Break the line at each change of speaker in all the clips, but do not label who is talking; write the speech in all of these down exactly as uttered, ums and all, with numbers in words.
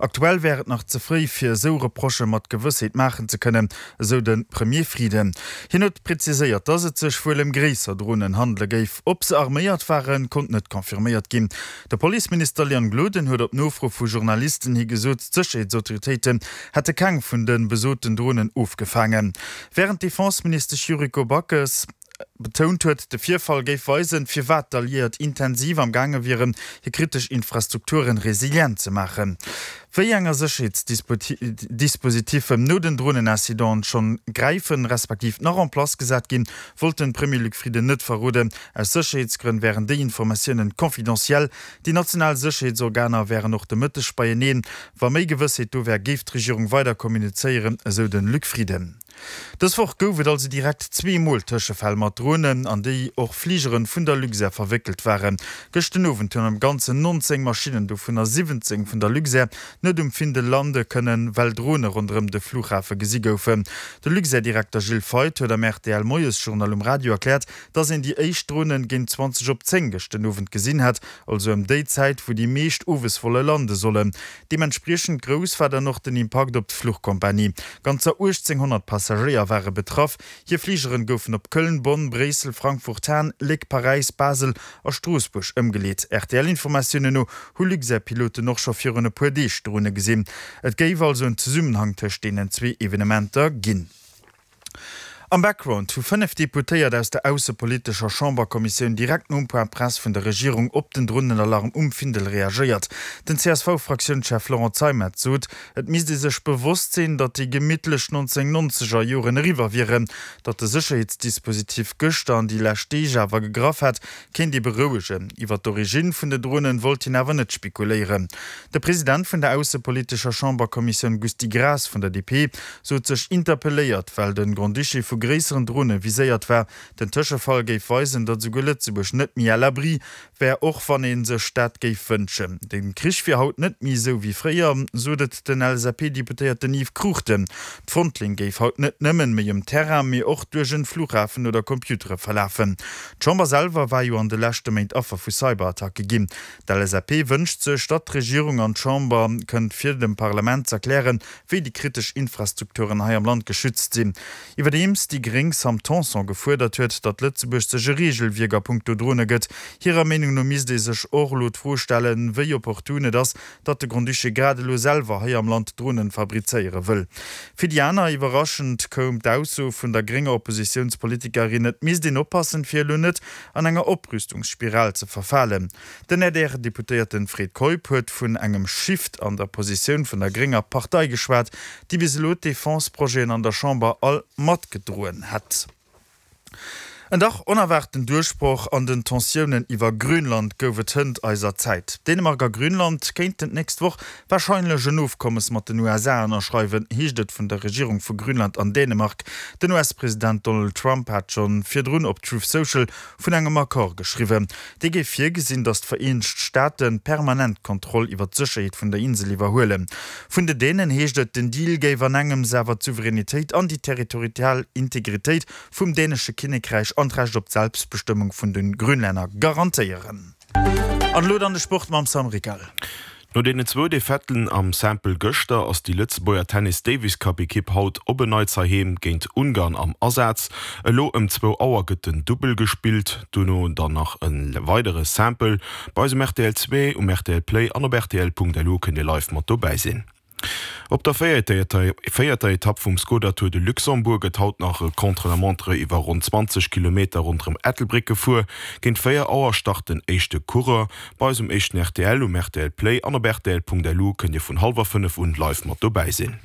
Aktuell wär et nach ze fréi, fir esou Reprochë mat Gewëssheet maachen ze kënnen, esou de Premier Frieden. Hien huet präziséiert, datt et sech wuel ëm gréisser Dronen handele géif. Ob se arméiert waren, konnt net confirméiert ginn. De Policeminister Leon Gloden huet op Nofro vu Journalisten hi gesot, d'Sécherheetsautoritéiten hätte keng vun de besoten Dronen ofgefaangen. Wärend d'Defenseministesch Yuriko Backes betount huet, de Virfall géif weisen, firwat d'Alliéiert intensiv am gaange wieren, hir kritesch Infrastrukturen resilient ze maachen. Wéi eng Sécherheetsdispositiffen no den Dronenincidenten schonn gräifen, respektiv nach en place gesat ginn, wollt de Premier Luc Frieden net verroden. Aus Sécherheetsgrënn wären déi Informatiounen confidentiel. Déi national Sécherheetsorganer wären och de Mëtteg beieneen. Wa méi Gewëssheet do wär, géif d'Regierung weider kommunizéieren, esou de Luc Frieden. Dës Woch gouf et also direkt zwee Mol Tëschefäll mat Dronen, an déi och Fligere vun der Luxair verwéckelt waren. Gëscht den Owend hunn am Ganzen nonzéng Maschinnen, dovunner siwwenzéng vun der Luxair, net um Findel lande kënnen, well Drone ronderëm de Flughafe gesi goufen. De Luxair-Direkter Gilles Feith huet am R T L-Moiesjournal um Radio erkläert, dass een déi éischt Dronen géint zwanzeg op zéng gëscht den Owend gesinn hätt, also ëm déi Zäit, wou déi meescht owes wolle lande sollen. Deementspriechend grouss war dann och den Impakt op d'Fluchkompanie. Ganzer uechtzénghonnert Passagéier ware betraff. Hir Fligeren goufen op Köln, Bonn, Bréissel, Frankfurt, Hahn, Léck, Paräis, Basel a Stroossbuerg ëmgeleet. R T L-Informatiounen no hu Luxair-Piloten och scho virun e puer Deeg Drone gesinn. Et géif also en Zesummenhang tëscht deenen zwee Evenementer ginn. Am Background hu fënnef Deputéiert aus der aussepolitescher Chamberkommissioun direkt nom Point Presse vun der Regierung op den Dronenalarm um Findel reagéiert. Den C S V-Fraktiounschef Laurent Zeimet sot, et misst ee sech bewosst sinn, datt déi gemittlech nonzénhunnertnonzeger Joren eriwwer wieren. Datt de Sécherheetsdispositif gëschter an déi lescht Deeg awer gegraff hätt, kéint ee berouegen. Iwwer d'Originn vun de Dronen wollt hien awer net spekuléieren. De President vun der aussepolitescher Chamberkommissioun Gusty Graas vun der D P sot sech interpelléiert, well de Grand-Duché vu gréisseren Drone viséiert war. Den Tëschefall géif weisen, datt esouguer Lëtzebuerg net méi à l'abri wär, och wann ee sech dat géif wënschen. De Krich wier haut net méi esou wéi fréier, sot et den L S A P-Deputéierten Yves Cruchten. D'Frontlinn géif haut net nëmmen méi um Terrain, mee och duerch en Flughafen oder Computere verlafen. D'Chamber selwer war jo an de leschte Méint Affer vu Cyberattacke ginn. D'L S A P wënscht sech, datt d'Regierung an d'Chamber kënnt fir dem Parlament z'erklären, wéi déi kritesch Infrastrukturen hei am Land geschützt sinn. Iwwerdeems déi Gréng Sam Tanson gefuerdert huet, datt Lëtzebuerg sech e Reegelwierk a punkto Drone gëtt. Hirer Meenung no misst ee sech och elo d'Fro stellen, wéi opportun et ass, datt de Grand-Duché grad elo selwer hei am Land Dronen fabrizéiere wëll. Fir déi aner iwwerraschend koum d'Ausso vun der grénger Oppositiounspolitikerin, et misst een oppassen, fir elo net an enger Oprüstungsspiral ze verfalen. Den A D R-Deputéierten Fred Keup huet vun engem Shift an der Positioun vun der grénger Partei geschwat, déi bis elo d'Defense-Projeten an der Chamber all matgedroen hätt. En dach onerwaarten Duerchbroch an den Tensiounen iwwer Grönland gouf et hënt eiser Zäit. Dänemark a Grönland kéinten d'nächst Woch warscheinlech en Ofkommes mat den U S A ënnerschreiwen, heescht et vun der Regierung vu Grönland an Dänemark. Den U S-President Donald Trump hat scho virdrun op Truth Social vun engem Accord geschriwwen. Dee géif virgesinn, datt d'Vereenegt Staate permanent d'Kontroll iwwer d'Sécherheet vun der Insel iwwerhuelen. Vun den Dänen heescht et, den Deal géif an engems awer d'Souveränitéit an déi territorial Integritéit vum dänesche Kinnekräich an d'Recht op d'Selbstbestëmmung vun de Grönlänner garantéieren. An elo dann de Sport mam Sam Rickal.
No deenen zwou Defaiten am Simple gëschter ass déi Lëtzebuerger Tennis Davis Cup Ekipp haut op en Neits heiheem géint Ungarn am Asaz. Elo ëm zwou Auer gëtt den Dubbel gespillt, duerno dann nach e weidere Simple. Bei eis um R T L zwee, um R T L Play an op R T L Punkt L U kënnt Dir live mat dobäi sinn. Op der véierter Etapp vum Skoda Tour de Luxembourg gëtt haut nach e Contre-la-montre iwwer ronn zwanzeg Kilometer ronderëm Ettelbréck gefuer. Géint véier Auer start den éischte Coureur. Bei eis um éischten R T L, um R T L Play an op R T L Punkt L U kënnt Dir vun hallwer fënnef un live mat dobäi sinn.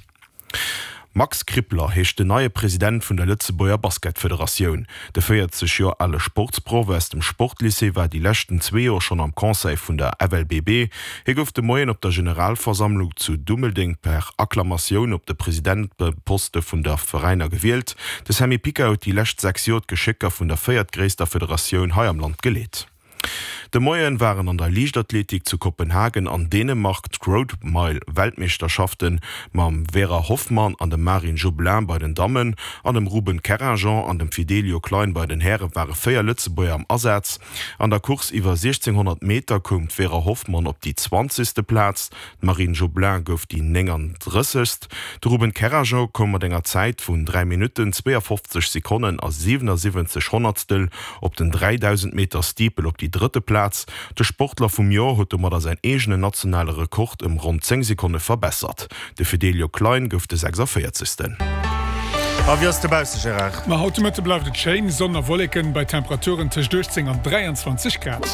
Max Krippler heescht den neie President vun der Lëtzebuerger Basketfederatioun. De véierzeg Joer ale Sportsproff aus dem Sportlycée war déi leschten zwee Joer schonn am Conseil vun der F L B B. Hie gouf de Moien op der Generalversammlung zu Dummeldeng per Akklamatioun op de Presidenteposte vun der Veräiner gewielt. De Sammy Pica huet déi lescht sechs Joer d'Geschécker vun der véiertgréisster Federatioun hei am Land geleet. De Moien waren an der Liichtathletik zu Kopenhagen an Dänemark d'Road Mile Weltmeeschterschaften mam Vera Hoffmann an dem Marine Joblin bei den Dammen an dem Ruben Kerrajean an dem Fidelio Klein bei den Häre ware véier Lëtzebuerger am Asaz. An der Course iwwer siechzénghonnert Meter koum d'Vera Hoffmann op déi zwanzegste Plaz, d'Marine Joblin gouf déi néngandrëssegst. De Ruben Kerrajean koum mat enger Zäit vun dräi Minutten, zweeafofzeg Sekonnen a siwenasiwwenzeg Honnertstel op den dräidausend Meter Steeple op déi drëtte Plaz. De Sportler vum Joer huet domadder säin eegenen nationale Rekord ëm ronn zéng Sekonne verbessert. De Fidelio Klein gouf de sechsundvéierzegsten.
A wéi ass dobausse, Gérard?
Ma haut de Mëtte bleift et schéin, Sonn a Wolleken bei Temperaturen tëscht uechtzéng an dräianzwanzeg Grad.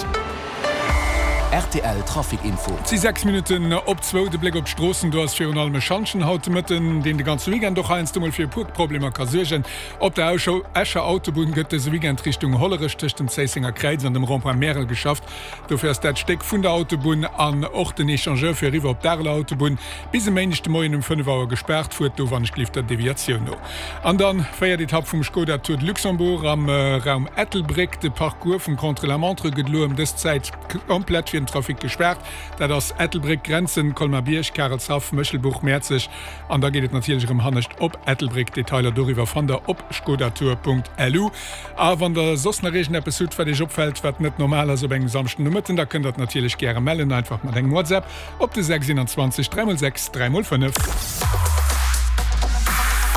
Rtl Trafic Info.
Et si sechs Minutten op zwou. De Bléck op d'Stroossen, do ass virun allem e Schantjen haut de Mëtten, deen de ganze Weekend och heiansdo mol fir e puer Problemer ka suergen. Op der Escher Autobunn gëtt dëse Weekend Richtung Hollerech tëscht dem Zéissenger Kräiz an dem Rond-point Märel geschafft. Dofir ass dat Stéck vun der Autobunn an och den Echangeur fir eriwwer op d'Areler Autobunn bis e Méindeg de Moien um fënnef Auer gespaart. Fuert do wann ech gelift der Deviatioun no. An dann véiert Etapp vum Skoda Tour de Luxembourg am Raum Ettelbréck. De Parcours vum Contre-la-montre gëtt elo ëm dës Zäit komplett fir den Trafic gespaart. Dat ass Ettelbréck, Grenzen, Colmar-Bierg, Karelshaff, Méchelbuch, Mäerzeg an da geet et natierlech erëm hannescht op Ettelbréck. Detailer doriwwer fannt der op skodatour.lu. A wann der soss nach iergendeppes hutt, wat iech opfält, wat net normal ass op engem Samschden Nomëtten, da kënnt der et natierlech gäre mellen, einfach mat engem WhatsApp op de sechs einundzwanzeg dräi mol sechs dräi mol fënnef.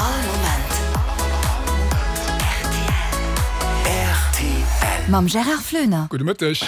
All Moment rtl.
Mam Gérard Floener.
Gudde Mëtteg.